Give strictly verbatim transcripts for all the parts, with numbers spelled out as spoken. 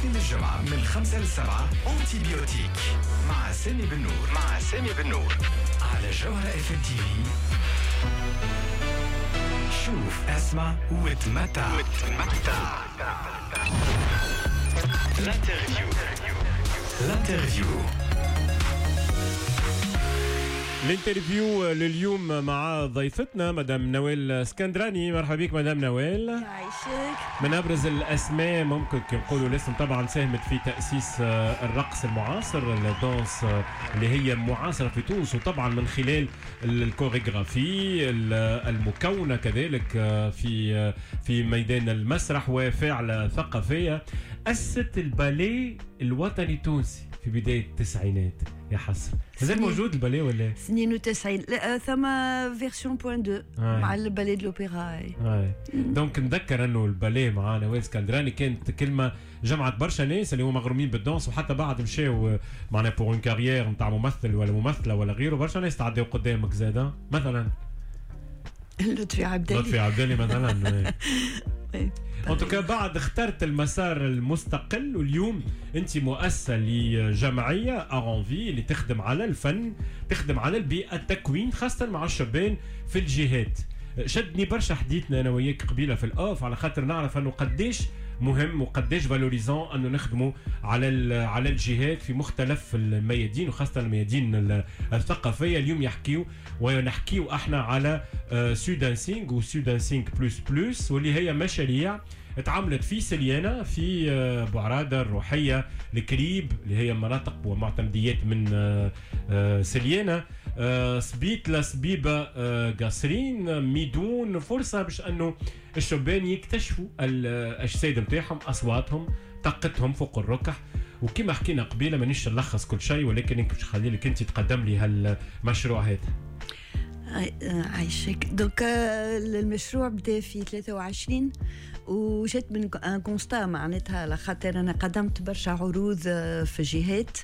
الاثنين للجمعة من خمسة لسبعة Antibiotique مع سامي بنور، مع سامي بنور على جوهرة اف ام تي في. شوف، اسمع وتمتع، وتمتع. L'interview، l'interview. L'interview لليوم مع ضيفتنا مدام نوال اسكندراني. مرحبا بك مدام نوال. يعيشك. من ابرز الاسماء ممكن نقولوا الاسم طبعا، ساهمت في تاسيس آه، الرقص المعاصر، ال danse آه، اللي هي معاصره في تونس، وطبعا من خلال الكوريغرافي المكونة كذلك آه، في في ميدان المسرح وفاعله ثقافيه. اسست الباليه الوطني التونسي في بداية التسعينات. يا حسرة، مازال موجود الباليه ولا؟ اثنين وتسعين، لا، ثم version point deux مع ال ballet de l'opéra. donc نذكر انه الباليه مع نوال اسكندراني كانت كلمة جمعت برشا ناس اللي هما مغرومين بال danse، وحتى بعد مشاو معنا pour une carrière نتاع ممثل ولا ممثلة ولا غيره. برشا ناس تعداو قدامك زاده، مثلا لطفي عبدالي. لطفي عبدالي مثلا. en tout cas بعد اخترت المسار المستقل، واليوم انت مؤسسة لجمعية Art en Vie اللي تخدم على الفن، تخدم على البيئه، التكوين خاصة مع الشبان في الجهات. شدني برشا حديثنا انا وياك قبيلة في ال off، على خاطر نعرف انه قديش مهم وقديش valorisant انه نخدموا على على الجهات في مختلف الميادين وخاصة الميادين الثقافيه. اليوم يحكيو ونحكيو احنا على Sudancing و Sudancing plus plus، واللي هي مشاريع اتعملت في سليانة، في آه، بوعرادة، الروحية، الكريب، اللي هي مناطق ومعتمديات من آه، آه، سليانة، سبيتلا، سبيبة، قصرين، ميدون. فرصة باش أنه الشبان يكتشفوا الأجساد نتاعهم، أصواتهم، طاقتهم فوق الركح. وكما حكينا قبيلة مانيش نلخص كل شيء، ولكن باش نخلي لك انت تقدم لي هالمشروع هذا. عايشك. donc المشروع بدا في ثلاثة وعشرين وجات من un constat، معناتها على خاطر انا قدمت برشا عروض في جهات،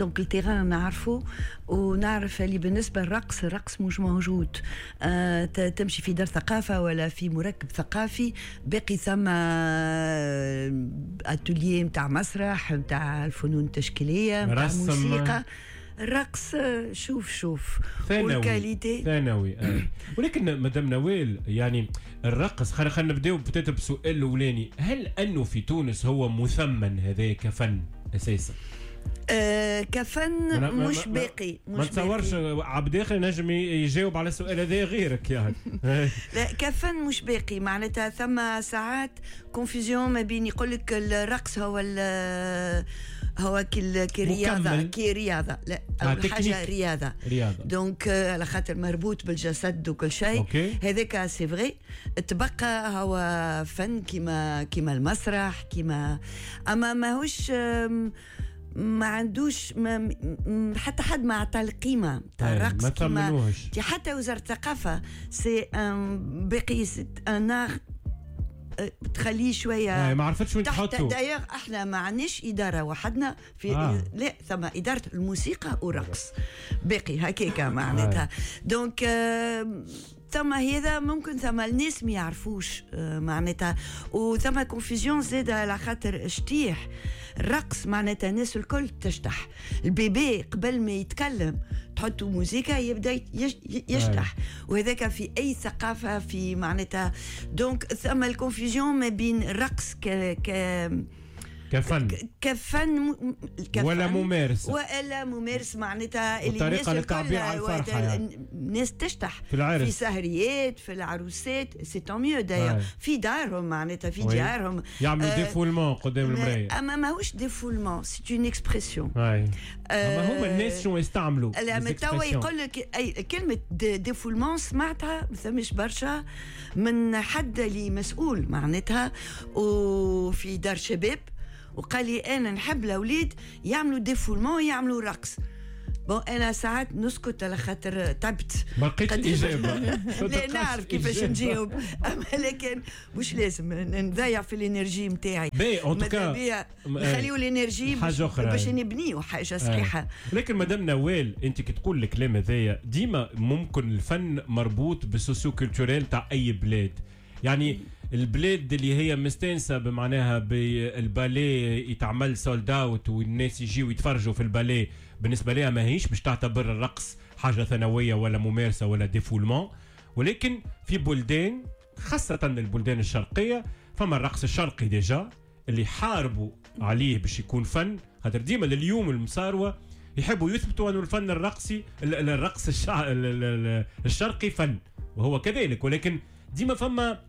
donc ال terrain نعرفه ونعرف اللي بالنسبة للرقص، الرقص مش موجود. آه تمشي في دار ثقافة ولا في مركب ثقافي، باقي ثم اتوليي نتاع مسرح، نتاع الفنون التشكيليه، نتاع موسيقى. الرقص شوف شوف. ثانوي وال qualité ثانوي آه. ولكن مدام نوال، يعني الرقص، خلينا خلينا نبداو peut-être بسؤال الاولاني: هل انه في تونس هو مثمن هذا كفن اساسا؟ آه كفن مش باقي. مش ما تصورش عبد اخر نجم يجاوب على السؤال هذا غيرك يعني. لا، كفن مش باقي. معناتها ثم ساعات confusion ما بين يقول لك الرقص هو هو كي رياضه، كي رياضه. لا، اول حاجة رياضه. رياضه. donc على خاطر مربوط بالجسد وكل شيء. هذاك c'est vrai. تبقى هو فن كيما كيما المسرح كيما، اما ماهوش، ما عندوش، ما حتى حد ما عطى القيمة تاع الرقص كيما حتى وزارة الثقافه. c'est باقي un art تخليه شويه. ما عرفتش وين تحطه. d'ailleurs احنا ما عندناش ادارة وحدنا في آه. لا، ثم ادارة الموسيقى والرقص باقي هكاكا معناتها. donc آه ثم هذا ممكن ثم الناس ما يعرفوش آه، معناتها، وثم confusion زاد على خاطر شتيح الرقص، معناتها الناس الكل تشتح. ال bébé قبل ما يتكلم تحطوا موزيكا يبدا يشتح، وهذاك في اي ثقافة في معناتها. donc ثم ال confusion ما بين الرقص ك ك كفن. كفن، كفن ولا ممارسة. ولا ممارس، معناتها اللي الناس للتعبير عن الفرحة يعني. الناس تشتح في العرس، في سهريات، في العروسات، c'est tant mieux d'ailleurs، في دارهم، معناتها في ديارهم. يعملوا آه défoulement قدام المرايه. اما ماهوش défoulement، c'est une expression. اما هما الناس شنو يستعملوا؟ لا، توا يقول لك اي كلمة défoulement سمعتها ما ثمش برشا من حد اللي مسؤول معناتها وفي دار شباب، وقال لي انا نحب الاولاد يعملوا défoulement، يعملوا رقص. bon، انا ساعات نسكت على خاطر تعبت. ما لقيتش الاجابه. لا، نعرف كيفاش نجاوب، اما لكن مش لازم نضيع في l'énergie نتاعي. باهي، en tout cas نخليو l'énergie حاجة اخرى. باش نبنيو حاجة صحيحه. لكن مدام نوال، انت كي تقول الكلام هذايا، ديما ممكن الفن مربوط بال socio-culturel تاع اي بلاد يعني. البلاد اللي هي مستانسه بمعناها بالباليه يتعمل sold out والناس يجيو يتفرجوا في الباليه، بالنسبة لها ماهيش باش تعتبر الرقص حاجة ثانوية ولا ممارسة ولا défoulement. ولكن في بلدان خاصة البلدان الشرقية فما الرقص الشرقي déjà اللي حاربوا عليه باش يكون فن، خاطر ديما لليوم المصاروه يحبوا يثبتوا انه الفن الرقصي الرقص الشرقي فن، وهو كذلك، ولكن ديما فما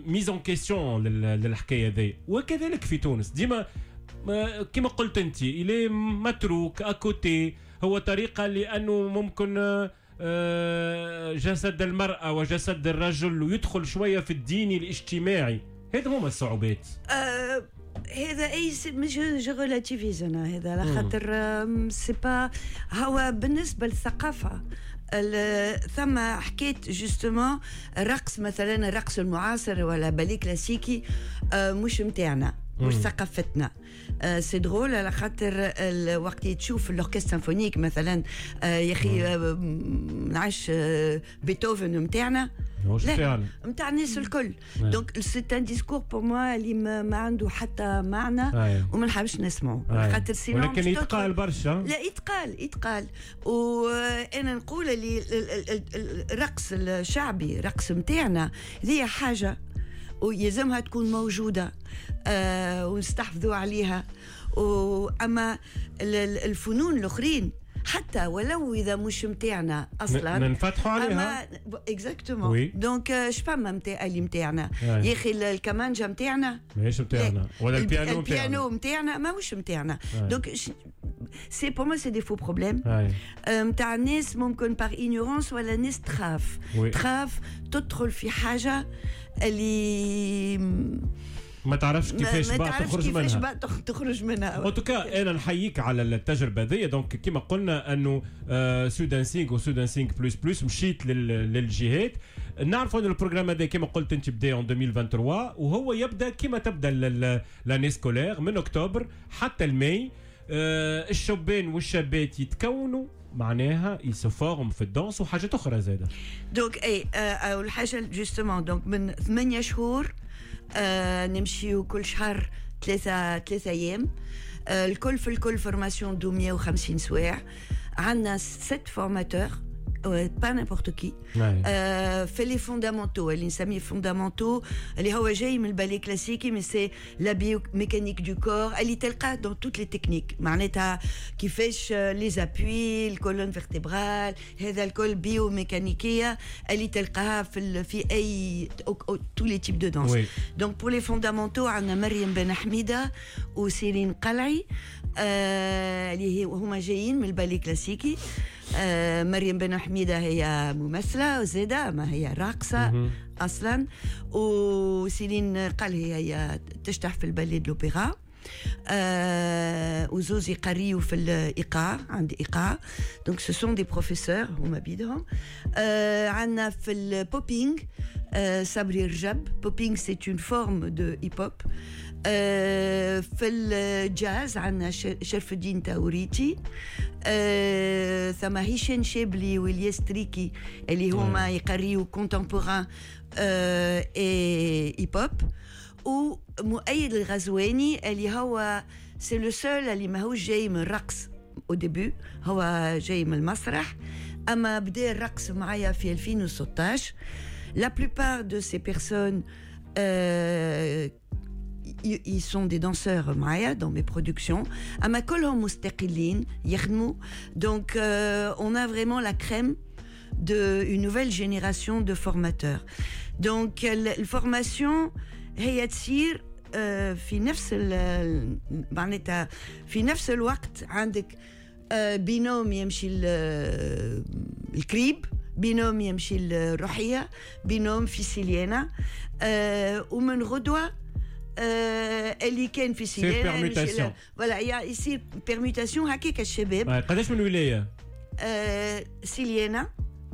mise en question للحكايه ذي. وكذلك في تونس ديما كما قلت انت الي متروك à côté، هو طريقه لانه ممكن جسد المراة وجسد الرجل ويدخل شوية في الديني الاجتماعي. هذا هما الصعوبات. أه هذا اي je je relativise انا هذا على خاطر c'est pas هو بالنسبة للثقافة. ثم حكيت justement الرقص مثلا الرقص المعاصر ولا بالي كلاسيكي مش متاعنا، مش ثقافتنا. c'est drôle على خاطر وقت تشوف l'orchestre symphonique مثلا يا اخي نعش بيتهوفن نتاعنا لا نتاع الناس الكل. donc c'est un discours pour moi اللي ما عنده حتى معنى وما نحبش نسمعه خاطر sinon. ولكن يتقال برشا. لا يتقال يتقال وانا نقول اللي الرقص الشعبي الرقص نتاعنا هذه حاجة ويلزمها تكون موجودة آه ونستحفظوا عليها. وأما الفنون الآخرين حتى ولو إذا مش متاعنا أصلا ننفتحوا عليها. exactement. donc شفما متاع اللي متاعنا يا أخي الكمانجا متاعنا ماهيش متاعنا، ولا البيانو البيانو متاعنا ماهوش متاعنا. donc c'est pour moi c'est des faux problèmes نتاع الناس ممكن par ignorance ولا الناس تخاف تخاف تدخل في حاجة اللي ما تعرفش كيفاش بقى تخرج منها، كيفاش بقى تخرج منها. en tout cas انا نحييك على التجربة ذي. donc كيما قلنا انه سودانسينغ وسودانسينغ plus plus مشيت للجهات. نعرفوا ان ال programme هذا كيما قلت انت بدا en ألفين وثلاثة وعشرين وهو يبدا كيما تبدا l'année scolaire من اكتوبر حتى الماي. الشبان والشابات يتكونوا معناها ils se forment في ال danse وحاجات اخرى زاده. donc اي اول حاجة justement donc من ثمانية شهور آه نمشيو كل شهر ثلاثة ثلاثة أيام آه الكل في الكل formation de مية وخمسين سواع. عندنا ست formateurs pas n'importe qui في les fondamentaux اللي نسميه fondamentaux اللي هو جاي من البالي كلاسيكي mais c'est la biomécanique du corps اللي تلقاه dans toutes les techniques، معناتها كيفاش les appuis ال colonne vertébrale هذا الكل biomécanique اللي تلقاها في في اي tous les types de danse. donc pour les fondamentaux عندنا مريم بن حميده وسيرين قلعي آه اللي هما جايين من البالي كلاسيكي. آه مريم بن حميدة هي ممثلة وزادة ما هي راقصة أصلا، وسيلين قال هي, هي تشتح في ال ballet de l'opéra. آه وزوز يقريوا في الإيقاع عند إيقاع. donc ce sont des professeurs هما بيدهم. آه عندنا في ال popping آه صبري رجب. popping c'est une forme de hip-hop. آه في الجاز عندنا شرف الدين تاوريتي. آه ثم هشام شابلي والياس تريكي اللي هما يقريوا contemporain آه et hip-hop. ومؤيد الغزواني اللي هو c'est le seul اللي ماهوش جاي من الرقص au début، هو جاي من المسرح اما بدا الرقص معايا في ألفين وستة عشر. La plupart de ces personnes euh, ils sont des danseurs معايا dans mes productions. أما كلهم مستقلين يخدموا. Donc euh, on a vraiment la crème de une nouvelle génération de formateurs. Donc la formation هي تصير في نفس معناتها في نفس الوقت. عندك binôme يمشي الكريب، binôme يمشي الروحية، binôme في سيليانا، ومن غدوة اللي كان في سيليانا voilà يصير permutation هكاك الشباب. قداش من ولاية؟ سيليانا،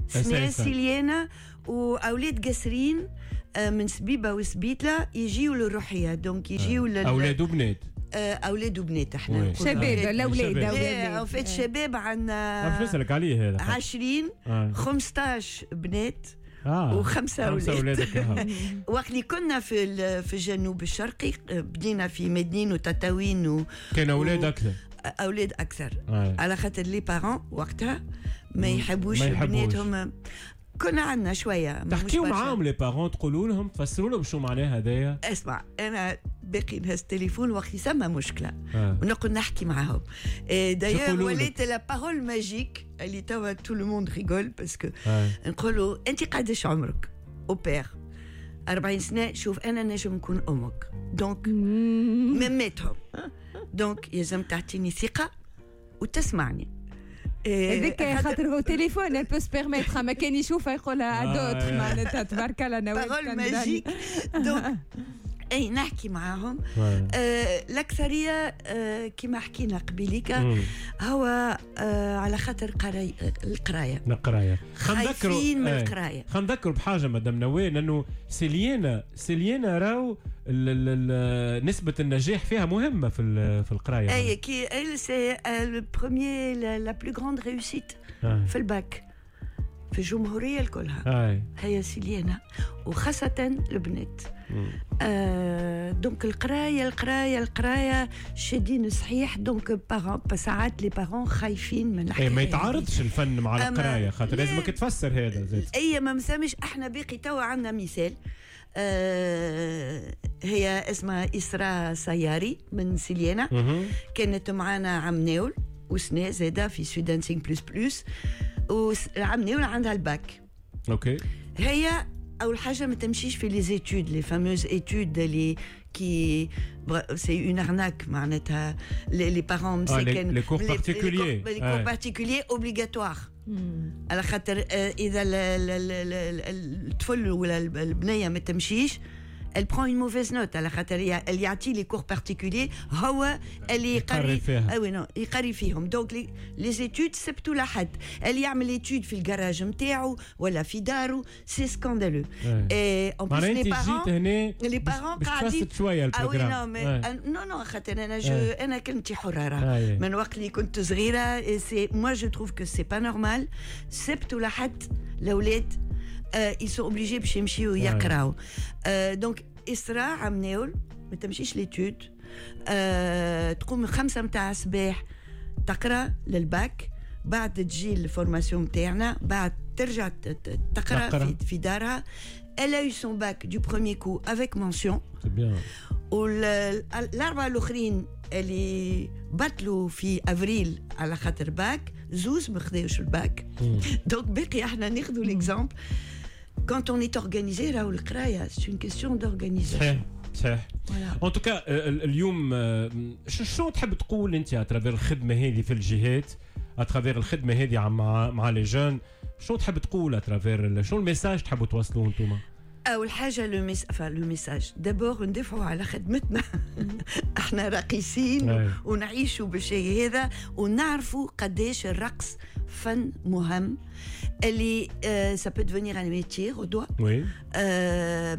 سنة سيليانا وأولاد قسرين من سبيبة وسبيتلة يجيو للروحية. donc يجيو لل أولاد وبنات، أولاد وبنات احنا شباب الأولاد أولاد en fait شباب عندنا باش نسألك عليه هذا عشرين خمسطاش بنات آه. وخمسة اولاد. وقت اللي كنا في في الجنوب الشرقي بدينا في مدنين وتطاوين و... كان اولاد و... اكثر، اولاد اكثر آه. على خاطر les parents وقتها ما يحبوش بناتهم. كنا عندنا شوية تحكيو معاهم les parents، تقولوا لهم، تفسروا لهم شو معناها هذايا؟ اسمع، انا باقي نهز التليفون وقت يسمى مشكلة آه. ونقعد نحكي معاهم. d'ailleurs وليت la parole magique اللي توا tout le monde rigole parce que نقولوا انت قداش عمرك؟ au père أربعين سنة. شوف انا نجم نكون امك، donc مماتهم، donc يلزم تعطيني ثقة وتسمعني. هذاك خاطر هو تليفون elle peut se permettre، ما كان يشوفها يقولها à d'autres، معناتها تبارك الله نوال parole magique. donc اي نحكي معاهم. آه الاكثرية آه كما حكينا قبيليك هو آه على خاطر قراي القراية القراية خايفين من القراية. خلينا نذكروا بحاجة مدام نوال، انه سيليانا سيليانا راهو نسبه النجاح فيها مهمة في في القراية. اي كي c'est le premier la plus grande réussite في الباك في الجمهورية الكلها هي سيليانا، وخاصة البنات. آه donc القراية القراية القراية شادين صحيح. donc parents ساعات les parents خايفين من الحكاية. ما يتعارضش الفن مع القراية، خاطر لازمك تفسر هذا زاد. اي ما مسامش. احنا باقي توا عندنا مثال، آه هي اسمها إسراء سياري من سيليانا، كانت معنا عم ناول وسنة زاده في Sud Dancing plus plus، وعم ناول عندها الباك. okay. هي اول حاجة ما تمشيش في les études، les fameuses études اللي qui c'est une arnaque، معناتها les parents مساكن les cours particuliers، les cours particuliers obligatoires، على خاطر اذا الطفل ولا البنية ما تمشيش elle prend une mauvaise note، على خاطر اللي يعطي les cours particuliers هو اللي يقري فيها. oui non يقري فيهم. donc les études سبتوا لحد اللي يعمل études في الجراج نتاعو ولا في دارو، c'est scandaleux. et en plus les parents les parents قاعدين شوية ال programme. non mais non non خاطر انا je انا كلمتي حره راه من وقت اللي كنت صغيرة. c'est moi je trouve que c'est pas normal سبتوا لحد الاولاد ils sont obligés باش يمشيو يقراو. donc إسراء عم ناول ما تمشيش l'étude، أه تقوم خمسة متاع الصباح تقرا للباك، بعد تجي ال formation متاعنا، بعد ترجع تقرا في, في دارها. Elle a eu son bac du premier coup avec mention. C'est bien. والأربعة الآخرين اللي بطلوا في أفريل على خاطر باك، زوز ما خذاوش ال bac. donc باقي احنا ناخذوا l'exemple. Quand on est organisé راهو القراية c'est une question d'organisation. صحيح صحيح. En tout cas اليوم شو تحب تقول انت à travers الخدمة هذه في الجهات، à travers الخدمة هذه مع مع les jeunes، شو تحب تقول à travers، شو ال message تحبوا توصلوه انتم؟ اول حاجة le mess le message d'abord ندافعوا على خدمتنا. احنا راقصين ونعيشوا بالشيء هذا، ونعرفوا قداش الرقص فن مهم اللي ça peut devenir un métier غدوه. oui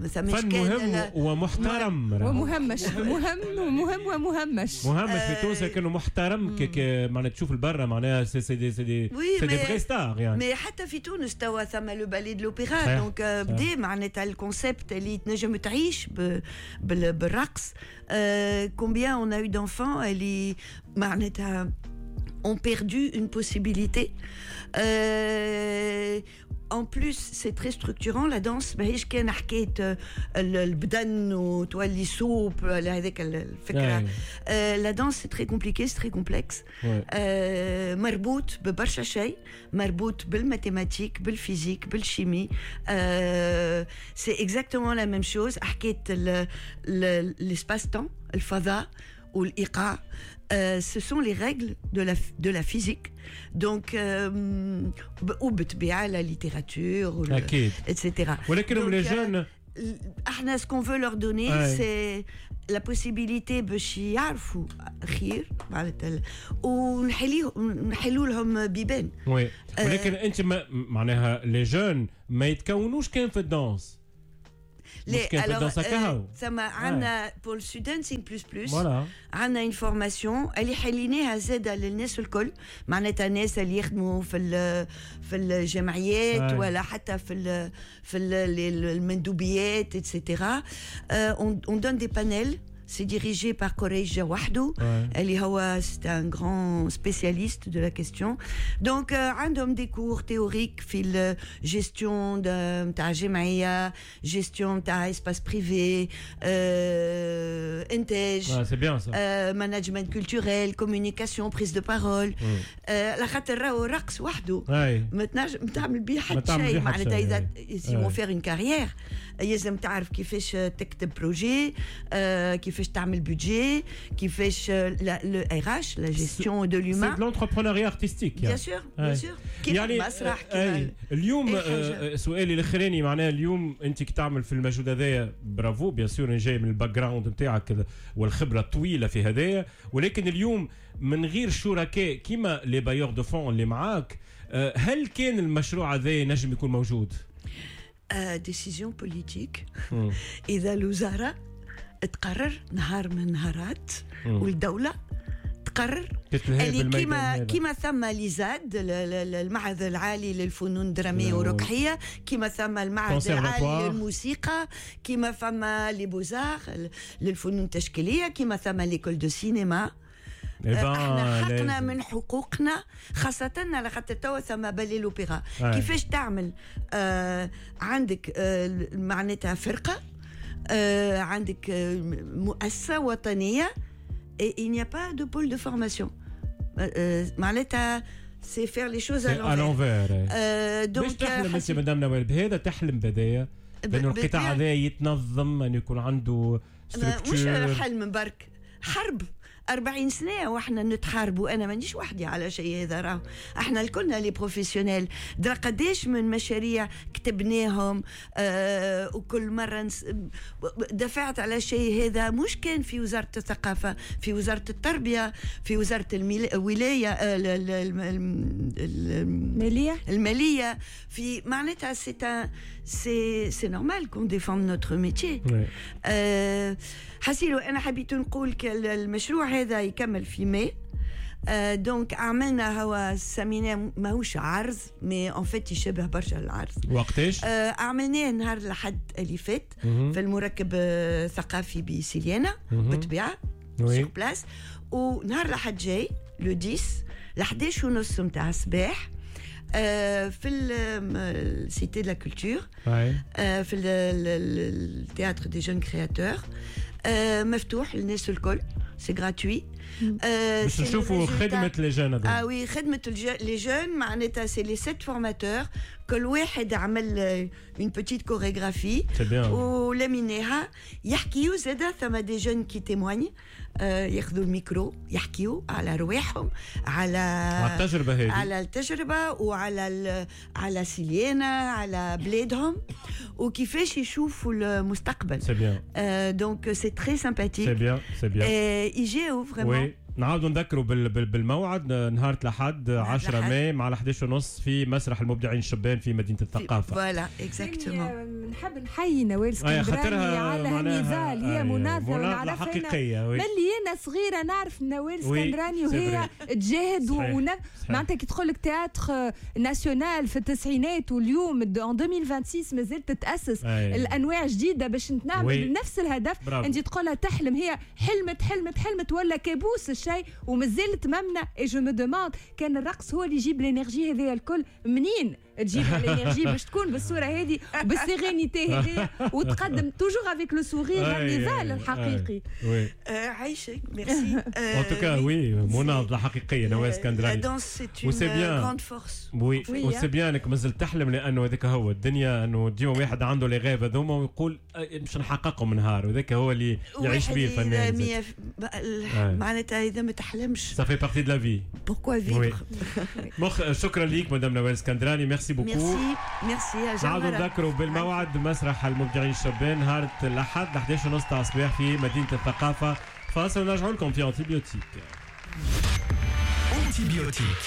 فن مهم ومحترم ومهمش. مهم ومهم ومهمش. مهمش في تونس لكنه محترم، كي معناها تشوف البرة معناها c'est c'est des c'est des c'est des vraies stars يعني. mais حتى في تونس توا ثم le ballet de l'opéra، donc بدا معناتها ال concept اللي تنجم تعيش بالرقص. combien on a eu d'enfants اللي معناتها ont perdu une possibilité. Euh, en plus, c'est très structurant la danse. ماهيش كان حكاية البدن وتولي souple هذاك الفكرة. La danse c'est très compliqué, c'est très complexe. مربوط ببرشا شيء، مربوط بال mathématiques، بال physique، بال chimie. C'est exactement la même chose. حكاية l'espace-temps، الفضاء والإيقاع. Euh, ce sont les règles de la, de la physique. Donc, euh, وبالطبيعة la littérature, أكيد. et cetera. ولكن les jeunes احنا ce qu'on veut leur donner, c'est la possibilité باش يعرفوا خير معناتها ونحلوا لهم بيبان. oui. ولكن انت معناها les jeunes ما يتكونوش كان في ال danse. مش كان في ال danse كهو. ثم عندنا pour Sud Dancing plus plus عندنا une formation اللي حليناها زاده للناس الكل، معناتها الناس اللي يخدموا في في الجمعيات ولا حتى في ال في المندوبيات et cetera. On donne des panels. C'est dirigé par Koreja Wahdou. اللي هو c'est un grand spécialiste de la question. Donc عندهم des cours théoriques في gestion تاع جمعية, gestion تاع espace privé, إنتاج. C'est bien ça. Management culturel, communication, prise de parole. على خاطر راهو الرقص وحده ما تنجم تعمل بيه حتى شيء، معناتها إذا si on veut faire une carrière يلزم تعرف كيفاش تكتب projet، كيفاش تعمل budget، كيفاش le RH, la gestion de l'humain. C'est de l'entrepreneuriat artistique. Bien sûr, bien sûr. كيف المسرح كيف اليوم. سؤالي الاخراني معناها اليوم انت كي تعمل في المجهود هذايا bravo bien sûr جاي من ال background نتاعك والخبرة الطويلة في هذايا، ولكن اليوم من غير شركاء كيما les bailleurs de fonds اللي معاك، هل كان المشروع هذا نجم يكون موجود؟ décision politique. اذا الوزارة تقرر نهار من نهارات والدولة تقرر اللي كيما كيما ثم l'ISAD المعهد العالي للفنون الدرامية والركحية، كيما ثم المعهد العالي للموسيقى، كيما ثم les beaux-arts للفنون التشكيلية، كيما ثم l'école de cinéma. احنا حقنا من حقوقنا، خاصة على خاطر توا ثم بالي l'opéra. كيفاش تعمل؟ آه عندك آه معناتها فرقة، آه عندك آه مؤسسة وطنية، et il n'y a pas de pôle de formation. معناتها c'est faire les choses à l'envers. donc تحلم انت مدام نوال بهذا، تحلم بداية بأنه القطاع هذا يتنظم، أن يكون عنده structure. مش حلم برك، حرب أربعين سنة وإحنا نتحاربوا. أنا مانيش وحدي على شيء هذا، راهو إحنا الكلنا les professionnels. درا قداش من مشاريع كتبناهم، آه وكل مرة نس... دفعت على شيء هذا. مش كان في وزارة الثقافة، في وزارة التربية، في وزارة الميل... الولاية آه المالية المالية في معناتها c'est c'est c'est normal qu'on défende notre métier. حسيلو أنا حبيت نقول المشروع هذا يكمل في ماي. آه donc عملنا هو سميناه ماهوش عرض، mais en fait يشبه برشا العرض. وقتاش؟ آه عملناه نهار الأحد اللي فات في المركب الثقافي بسليانة بالطبيعة sur place. ونهار الأحد جاي le عشرة لحداش ونص نتاع الصباح آه في ال cité de la culture، في ال théâtre des jeunes créateurs، مفتوح للناس الكل، c'est gratuit. باش نشوفوا خدمة les jeunes. اه oui، خدمة les jeunes معناتها c'est les sept formateurs، كل واحد عمل une petite chorégraphie ولميناها يحكيو زاده. ثم des jeunes qui témoignent، ياخذوا الميكرو يحكيو على رواحهم، على على التجربة هذه، على التجربة وعلى على سليانة، على بلادهم وكيفاش يشوفوا المستقبل. c'est bien. donc c'est très sympathique. c'est bien, c'est bien. يجيو vraiment. نعاودوا نذكروا بالموعد نهار الأحد عشرة ماي مع الحداش ونص في مسرح المبدعين الشبان في مدينة الثقافة. voilà exactement. نحب نحيي نوال اسكندراني على هالنضال، هي مناضلة حقيقية. ملي أنا صغيرة نعرف نوال اسكندراني وهي تجاهد ون... معناتها كي تقول لك théâtre national في التسعينات واليوم en ألفين وستة وعشرين مازالت تتأسس الأنواع جديدة باش نعمل نفس الهدف. أنت تقولها تحلم، هي حلمت حلمت حلمت ولا كابوس الشيء ومازالت ممنة. et je me demande كان الرقص هو اللي يجيب l'énergie هذه الكل، منين تجيب l'énergie باش تكون بالصورة هذه بال sérénité هذه وتقدم toujours avec le sourire النضال الحقيقي. عايشك merci. en tout cas oui مناضله حقيقية نوال اسكندراني. la danse c'est une grande force. oui و c'est bien انك مازلت تحلم، لانه هذاك هو الدنيا، انه ديما واحد عنده les rêves هذوما ويقول باش نحققهم نهار، وذاك هو اللي يعيش به الفنان. معناتها اذا ما تحلمش ça fait partie de la vie. Pourquoi vivre. مخ شكرا ليك مدام نوال اسكندراني، merci beaucoup. merci merci. نعاودوا نذكروا بالموعد مسرح المبدعين الشبان نهار الاحد احداش ونص تاع الصباح في مدينة الثقافة. فاصل ونرجعوا لكم في Antibiotique. Antibiotique.